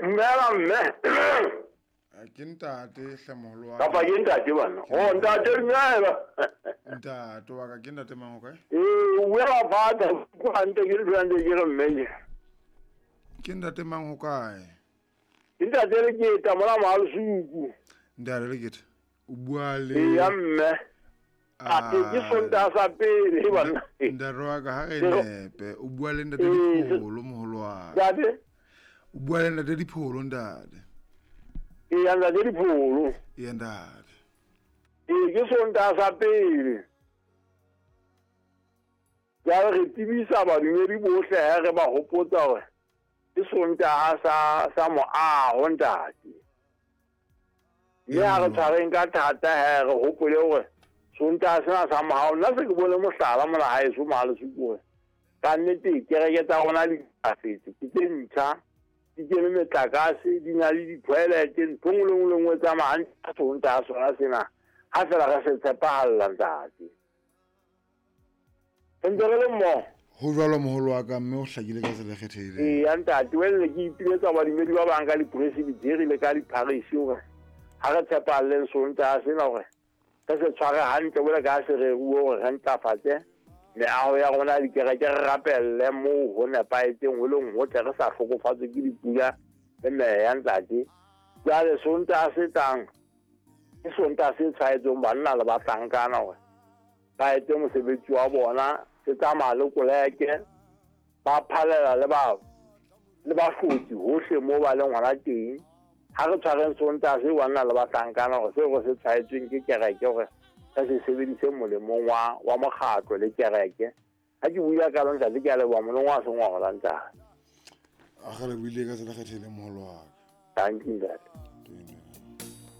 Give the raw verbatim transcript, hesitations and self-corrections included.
Dumela mme. Ke ntate hle moholo wa Kapa ke ntate bana. Oh ntate dumela. Ntate wa ka ke ntate mang o kae? Eh o buela father ko hantle ke le hantle ke re mme. Ke ntate mang ho kae? Ke ntate Leketa mola Malusuku. Ntate Leketa o bua le Eh ya mme. A ke Sontaha sa pele bana. Ntate wa ka ha re nepe o bua le ntate Dipholo moholo wa ka. Ntate o bua le ntate Dipholo ntate. E ya ntate Dipholo. E ntate. E ke Sontaha sa pele. Jwale re tsebisa badumedi bohle ha re ba hopotsa hore ke Sontaha sa sa moaho ntate. Mme ha re tshwareng ka thata he re hopole hore Sontaha sena sa moaho nna se ke bone mohlala mona haeso Malusuku hore ka nnete kereke tsa rona di ntlafetse, ke tse ntjha, di kene metlakase, di na le di-toilet, ntho e nngwe le nngwe le nngwe e tsamaya hantle ka Sontaha sona sena ha fela re se tshepahalla ntate. Re ntse re le mmoho. Ho jwalo moholo wa ka mme o hlakile ka tsela e kgethehileng. Eya ntate, wele ke ipiletsa badumedi ba bang ka di-presbytery le ka di-parish hore ha re tshepahalleng Sontaha sena hore re se tshware hantle jwalo ka ha se reruwe hore re ntlafatse meaho ya rona ya dikereke, re rapelle moo ho nepahetseng ho leng hotle, re sa hlokofatswe ke dipula le meya ntate. Jwale Sontaha se tlang ke Sontaha se tshwaetseng banna le bahlankana hore ba etse mosebetsi wa bona, se tsamaya le koleke, ba phalela le ba le bahlotsi hohle moo ba leng hona teng. Ha re tshwareng Sontaha se banna le bahlankana hore seo re se tshwaetsweng ke kereke hore re se sebedise molemong wa wa mokgatlo le kereke. Ha ke bua ka lona ntate, ke a leboha moleng wa sengola ntate. A re buile ka tsela e kgethehileng moholo wa ka. Thank you ntate.